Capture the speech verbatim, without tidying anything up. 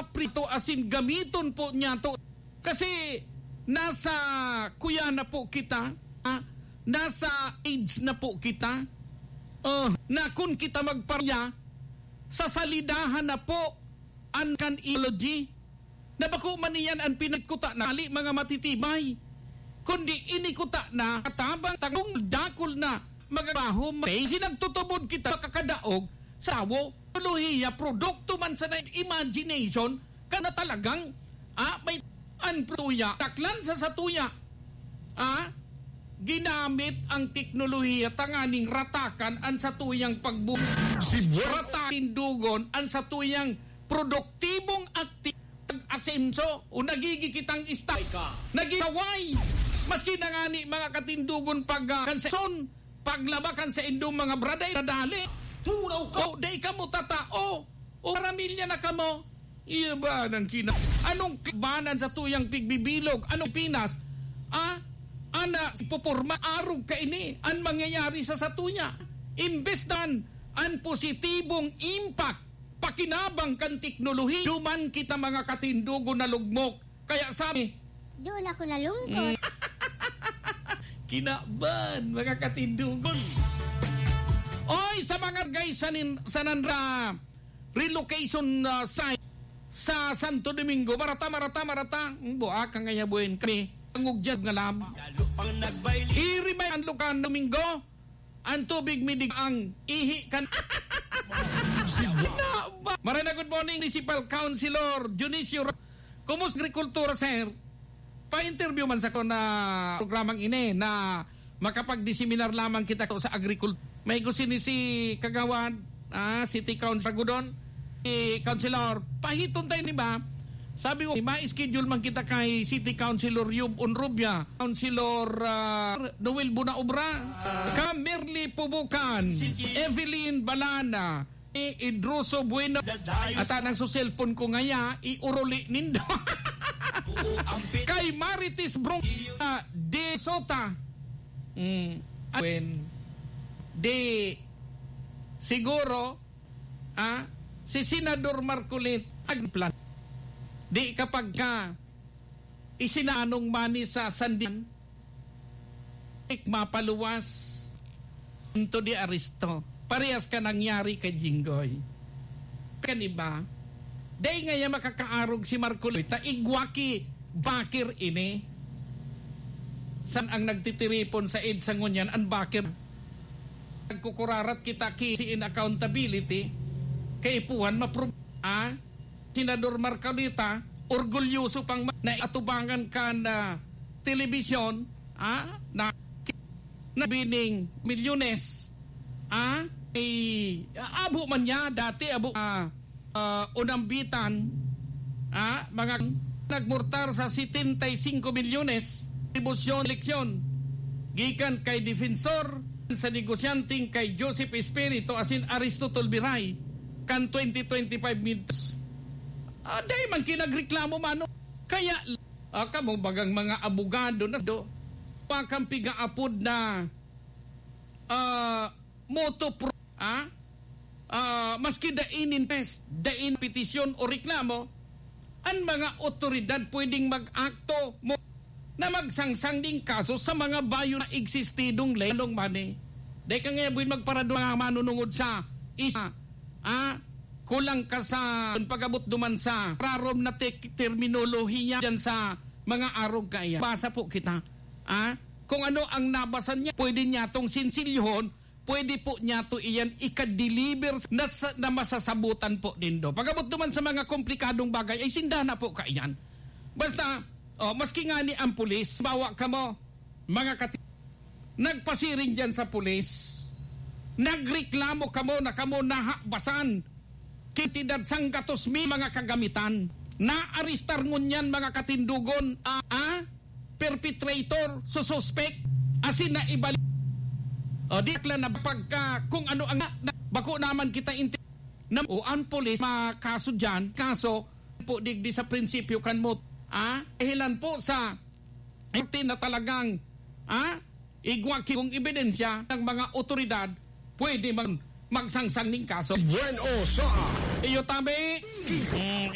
prito asin gamiton po niya to. Kasi nasa kuya na po kita, ah, nasa age na po kita, oh, na kun kita magparya, sa salidahan na po an kan ideology. Na bako man iyan an pinagkuta na hali mga matitibay, kundi inikuta na katabang tagong dakul na magbaho. May sinagtutubod kita makakadaog sa awo, teknolohiya, produkto man sa na imagination, ka na talagang, ah, may an tuya, taklan sa satuya. Ah, ginamit ang teknolohiya tanganing ratakan ang satuyang pagbu-, ratakan, tindugon ang satuyang produktibong akti-, pag-asenso o nagigi kitang ista-, nagigaway. Maski na ngani mga katindugon pag, ah, kansa-, paglaba kan saindong mga braday, nadali. Turaw ka! O, dai kamo tatao. O, karamilya na kamo. Iya ba nang kina-, anong kabanan sa tuyang pigbibilog? Anong Pinas? Ah? Ana, si puporma, arog ka ini. An mangyayari sa satuya. Imbes dan, an positibong impact, pakinabang kan teknolohiya, duman kita mga katindugon na lugmok. Kaya sabi, doon ako nalungkot. Mm. Kinaban, mga katindugon. Oy, sa mga guys, sa nin-, sa nanra relocation, ah, site sa Santo Domingo, marata, marata, marata. Hmm, buak ang ngayabuen kami. Tangog dyan nga lab. Iri may ang lukan Domingo. Ang tubig midig ang ihi kan. Maray na, good morning, Municipal Councilor Dionisio Ra-, kumusta agrikultura, sir? Pa-interview man sa ko na programang ini na makapag-diseminar lamang kita ko sa agrikul-, may gusto ni si Kagawad, ah, City Council Gudon, si Councilor, pahiton tayo ni ba? Sabi ko, ma-schedule man kita kay City Councilor Yub Onrubia, Councilor, ah, Noel Bunaobra, ka Merly Pubukan, Evelyn Balana, ni Idroso Bueno. Ata nang su cellphone ko ngaya, iuruli nindo. Kay Marites Brong, ah, de Sota. Mm. When, di, siguro, ah, si Senador Marcoleta, agplan. Di kapag ka, isinanong mani sa sandian, ik mapaluwas, punto de aresto. Parehas ka nangyari kay Jinggoy. Kan iba, dai ngaya makakaarog si Marcoleta, igwa ki bakir ini. San ang nagtitiripon sa EDSA ngunyan, ang bakir? Nagkukurarat kita ki si in accountability, kaipuhan mapro-, ah? Senador Marcoleta, orgulyoso pang ma-, na atubangan kan, ah, telebisyon, ah, na, na bining milyones, ah, ay, abo man niya, dati abo, ah, ah, unambitan, ah, mga nagmurtar sa setenta y cinco milyones, atribusyon, eleksyon, gikan kay Defensor sa negosyanteng kay Joseph Espiritu asin Aristotle Biray kan twenty twenty-five midterms. Ah, dai man kinagreklamo, mano. Kaya, ah, kamo bagang mga abogado na do, pa kang pigaapod na, ah, moto pro-, ah? Ah, maski dai nin test, dai nin petisyon o reklamo, an mga otoridad pwedeng mag-akto mo na magsangsang ning kaso sa mga bayo na existidong ley. Anong mani? Dai ka nga buin magparado mga manunungod sa isa, ah, kulang ka sa pag-abot duman sa rarom na tek-, terminolohiya dyan sa mga arog kaya. Basa po kita, ah, kung ano ang nabasa niya, pwede niya tong sinsilyohon, pwede po niya to iyan ika-deliver na sa, na masasabutan po nindo. Pag-abot duman sa mga komplikadong bagay, ay sinda na po kaiyan. Basta, oh, maski nga ni ang pulis, bawa kamo, mga kati-, nagpasiring diyan sa pulis, nagreklamo kamo na kamo nahabasan, kantidad sanggatos mil mga kagamitan. Naarestar ngunyan mga katindugon, ah, ah, perpetrator, sususpek, asin na ibalik. O, di lang na pagka kung ano ang na, na, bako naman kita inti-, na, o ang pulis, makaso dyan, kaso po digdi sa prinsipyo kan mo, ah, dahilan po sa, ito na talagang, ah, igwa ki-, kung ebidensya ng mga otoridad, pwede mag-, magsangsang ning kaso. Bueno sa iyo, tabi. Mm,